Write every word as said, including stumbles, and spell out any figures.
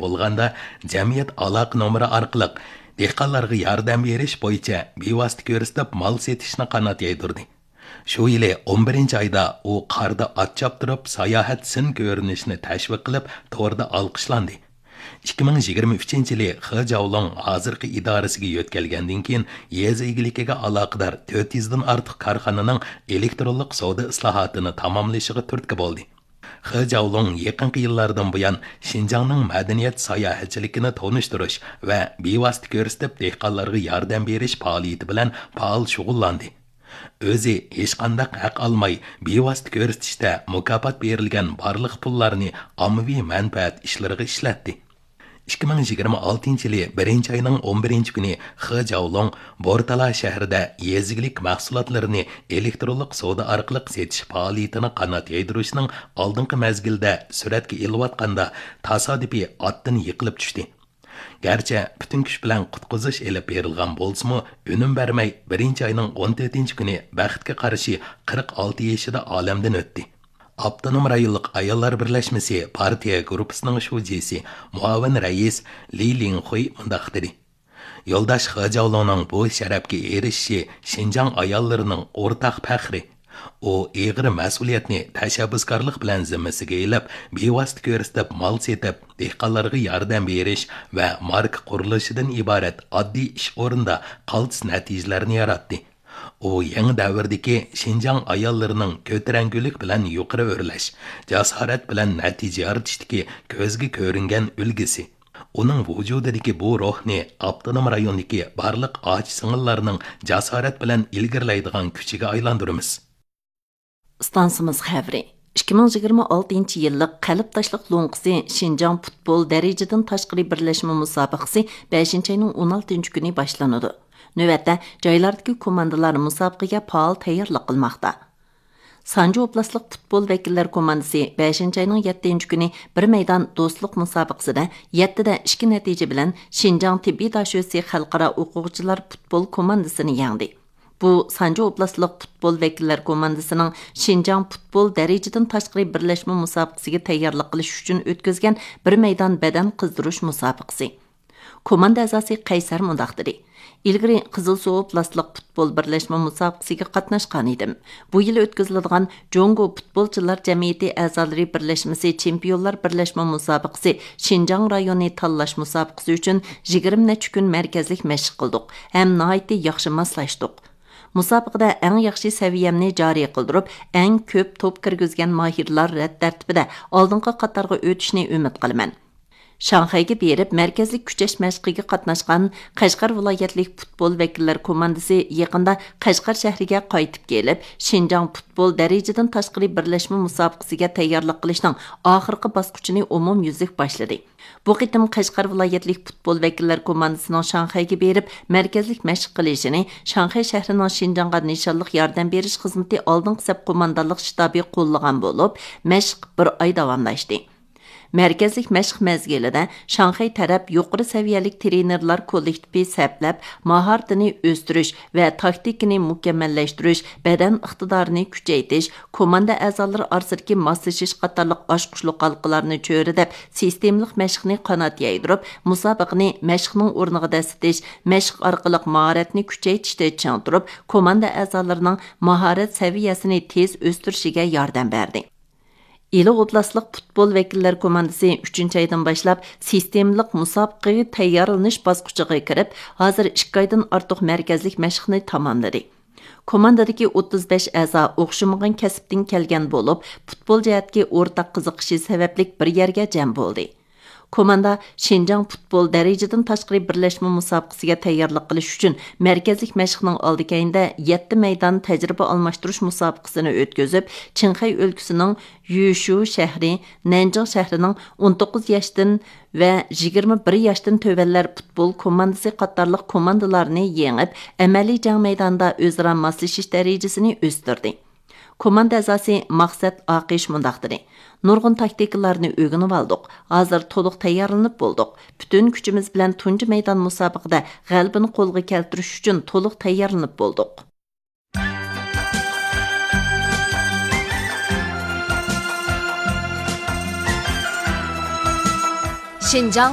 بولغاندا، جەمئىيەت ئالاقە نومۇرى ئارقىلىق دېھقانلارغا ياردەم بېرىش بويىچە بىۋاسىتە كۆرسىتىپ مال سېتىشنى قانات يايدۇردى. شۇ يىلى ئون بىرىنچى ئايدا ئۇ قاردا ئات چاپتۇرۇپ، ساياھەت سىن كۆرۈنۈشىنى تەشۋىق قىلىپ، توردا ئالقىشلاندى. ئىككى مىڭ يىگىرمە ئۈچىنچى يىلى خې جاۋلۇڭ ھازىرقى ئىدارىسىگە يۆتكەلگەندىن كېيىن، يېزا ئىگىلىكىگە ئالاقىدار تۆت يۈزدىن ئارتۇق كارخانىنىڭ ئېلېكترونلۇق سودا ئىسلاھاتىنى تاماملىشىغا تۈرتكە بولدى. خې جاۋلۇڭ يېقىنقى يىللاردىن بۇيان شىنجاڭنىڭ مەدەنىيەت ساياھەتچىلىكىنى تونۇشتۇرۇش ۋە بىۋاسىتە كۆرسىتىپ دېھقانلارغا ياردەم بېرىش پائالىيىتى بىلەن پائال شۇغۇللاندى. ئۆزى ھېچقانداق ھەق ئالماي، بىۋاسىتە كۆرسىتىشتە مۇكاپات بېرىلگەن بارلىق پۇللارنى ئاممىۋى مەنپەئەت ئىشلىرىغا ئىشلەتتى. ئىككى مىڭ يىگىرمە ئالتىنچى يىلى بىرىنچى ئاينىڭ ئون بىرىنچى كۈنى خې جاۋلۇڭ بورتالا شەھىرىدە يېزا ئىگىلىك مەھسۇلاتلىرىنى ئېلېكترونلۇق سودا ئارقىلىق سېتىش پائالىيىتىنى قانات يايدۇرۇشنىڭ ئالدىنقى مەزگىلدە سۈرەتكە ئېلىۋاتقاندا، تاسادىپىي ئاتتىن يىقىلىپ چۈشتى. گەرچە پۈتۈن كۈچ بىلەن قۇتقۇزۇش ئېلىپ بېرىلغان بولسىمۇ، ئۈنۈم بەرمەي، بىرىنچى ئاينىڭ ئون تۆتىنچى كۈنى بەختكە قارشى قىرىق ئالتە يېشىدا ئالەمدىن ئۆتتى. ئاپتونوم رايونلۇق ئاياللار بىرلەشمىسى پارتىيە گۇرۇپپىسىنىڭ شۇجىسى، مۇئاۋىن رەئىس لى لىڭخۇي مۇنداق دېدى: يولداش خې جاۋلۇڭنىڭ بۇ شەرەپكە ئېرىشىشى شىنجاڭ ئاياللىرىنىڭ ئورتاق پەخرى. ئۇ ئېغىر مەسئۇلىيەتنى تەشەببۇسكارلىق بىلەن زىممىسىگە ئېلىپ، بىۋاسىتە كۆرسىتىپ مال سېتىپ، دېھقانلارغا ياردەم بېرىش ۋە ماركا قۇرۇلۇشىدىن ئىبارەت ئاددىي ئىش ئورنىدا قالتىس نەتىجىلەرنى ياراتتى. ئۇ يېڭى دەۋردىكى شىنجاڭ ئاياللىرىنىڭ كۆتۈرەڭگۈلۈك بىلەن يۇقىرى ئۆرلەش، جاسارەت بىلەن نەتىجە يارىتىشتىكى كۆزگە كۆرۈنگەن ئۈلگىسى. ئۇنىڭ ۋۇجۇدىدىكى بۇ روھنى ئاپتونوم رايوندىكى بارلىق ئاچا-سىڭىللارنىڭ جاسارەت بىلەن ئىلگىرىلەيدىغان كۈچىگە ئايلاندۇرىمىز. ئىستانسىمىز خەۋىرى. ئىككى مىڭ يىگىرمە ئالتىنچى يىللىق قەلب تاشلىق لوڭقىسى شىنجاڭ پۇتبول دەرىجىدىن تاشقىرى بىرلەشمە مۇسابىقىسى بەشىنچى ئاينىڭ ئون ئالتىنچى كۈنى باشلىنىدۇ. نۆۋەتتە جايلاردىكى كوماندىلار مۇسابىقىگە پائال تەييارلىق قىلماقتا. سانجى ئوبلاستلىق پۇتبول ۋەكىللەر كوماندىسى بەشىنچى ئاينىڭ يەتتىنچى كۈنى بىر مەيدان دوستلۇق مۇسابىقىسىدە يەتتىدە ئىككى نەتىجە بىلەن شىنجاڭ تېببىي داشۆسى خەلقئارا ئوقۇغۇچىلار پۇتبول كوماندىسىنى يەڭدى. بۇ سانجى ئوبلاستلىق پۇتبول ۋەكىللەر كوماندىسىنىڭ شىنجاڭ پۇتبول دەرىجىدىن تاشقىرى بىرلەشمە مۇسابىقىسىگە تەييارلىق قىلىش ئۈچۈن ئۆتكۈزگەن بىر مەيدان بەدەن قىزدۇرۇش مۇسابىقىسى. كوماندا ئەزاسى قەيسەر مۇنداق دېدى: ئىلگىرى قىزىلسۇ ئوبلاستلىق پۇتبول بىرلەشمە مۇسابىقىسىگە قاتناشقان ئىدىم. بۇ يىل ئۆتكۈزۈلىدىغان جۇڭگو پۇتبولچىلار جەمئىيىتى ئەزالىرى بىرلەشمىسى چېمپىيونلار بىرلەشمە مۇسابىقىسى شىنجاڭ رايونى تاللاش مۇسابىقىسى ئۈچۈن يىگىرمە نەچچە كۈن مەركەزلىك مەشىق قىلدۇق ھەم ناھايىتى ياخشى ماسلاشتۇق. مۇسابىقىدە ئەڭ ياخشى سەۋىيەمنى جارى قىلدۇرۇپ، ئەڭ كۆپ توپ كىرگۈزگەن ماھىرلار رەت تەرتىپىدە ئالدىنقى قاتارغا ئۆتۈشنى ئۈمىد قىلىمەن. شاڭخەيگە بېرىپ، مەركەزلىك كۈچەش مەشقىگە قاتناشقان قەشقەر ۋىلايەتلىك پۇتبول ۋەكىللەر كوماندىسى يېقىندا قەشقەر شەھىرىگە قايتىپ كېلىپ، شىنجاڭ پۇتبول دەرىجىدىن تاشقىرى بىرلەشمە مۇسابىقىسىگە تەييارلىق قىلىشنىڭ ئاخىرقى باسقۇچىنى ئومۇميۈزلۈك باشلىدى. بۇ قېتىم قەشقەر ۋىلايەتلىك پۇتبول ۋەكىللەر كوماندىسىنىڭ شاڭخەيگە بېرىپ، مەركەزلىك مەشىق قىلىشىنى شاڭخەي شەھىرىنىڭ شىنجاڭغا نىشانلىق ياردەم بېرىش خىزمىتى ئالدىنقى سەپ قوماندانلىق شتابى قوللىغان بولۇپ، مەشىق بىر ئاي داۋاملاشتى. مەركەزلىك مەشىق مەزگىلىدە شاڭخەي تەرەپ يۇقىرى سەۋىيەلىك تىرېنېرلار كوللېكتىپى سەپلەپ، ماھارىتىنى ئۆستۈرۈش ۋە تاكتىكىنى مۇكەممەللەشتۈرۈش، بەدەن ئىقتىدارىنى كۈچەيتىش، كوماندا ئەزالىرى ئارىسىدىكى ماسلىشىش قاتارلىق ئاچقۇچلۇق ھالقىلارنى چۆرىدەپ، سىستېمىلىق مەشىقنى قانات يايدۇرۇپ، مۇسابىقىنى مەشىقنىڭ ئورنىغا دەسسىتىش، مەشىق ئارقىلىق ماھارەتنى كۈچەيتىشتە چىڭ تۇرۇپ، كوماندا ئەزالىرىنىڭ ماھارەت سەۋىيەسىنى تېز ئۆستۈرۈشىگە ياردەم بەردى. ئىلى ئوبلاستلىق پۇتبول ۋەكىللەر كوماندىسى ئۈچىنچى ئايدىن باشلاپ سىستېمىلىق مۇسابىقىگە تەييارلىنىش باسقۇچىغا كىرىپ، ھازىر ئىككى ئايدىن ئارتۇق مەركەزلىك مەشىقنى تاماملىدى. كوماندىدىكى ئوتتۇز بەش ئەزا ئوخشىمىغان كەسىپتىن كەلگەن بولۇپ، پۇتبول جەھەتتىكى ئورتاق قىزىقىشى سەۋەبلىك بىر يەرگە جەم بولدى. كوماندا شىنجاڭ پۇتبول دەرىجىدىن تاشقىرى بىرلەشمە مۇسابىقىسىگە تەييارلىق قىلىش ئۈچۈن مەركەزلىك مەشىقنىڭ ئالدى كەينىدە يەتتە مەيدان تەجرىبە ئالماشتۇرۇش مۇسابىقىسىنى ئۆتكۈزۈپ، چىڭخەي ئۆلكىسىنىڭ يۈشۇ شەھىرى، نەنجىڭ شەھىرىنىڭ ئون توققۇز ياشتىن ۋە يىگىرمە بىر ياشتىن تۆۋەنلەر پۇتبول كوماندىسى قاتارلىق كوماندىلارنى يېڭىپ، ئەمەلىي جەڭ مەيدانىدا ئۆزئارا ماسلىشىش دەرىجىسىنى ئۆستۈردى. كوماندا ئەزاسى مەقسەت ئاقىش مۇنداق دېدى: نۇرغۇن تاكتىكىلارنى ئۆگىنىۋالدۇق، ھازىر تولۇق تەييارلىنىپ بولدۇق. پۈتۈن كۈچىمىز بىلەن تۇنجى مەيدان مۇسابىقىدە غەلىبىنى قولغا كەلتۈرۈش ئۈچۈن تولۇق تەييارلىنىپ بولدۇق. شىنجاڭ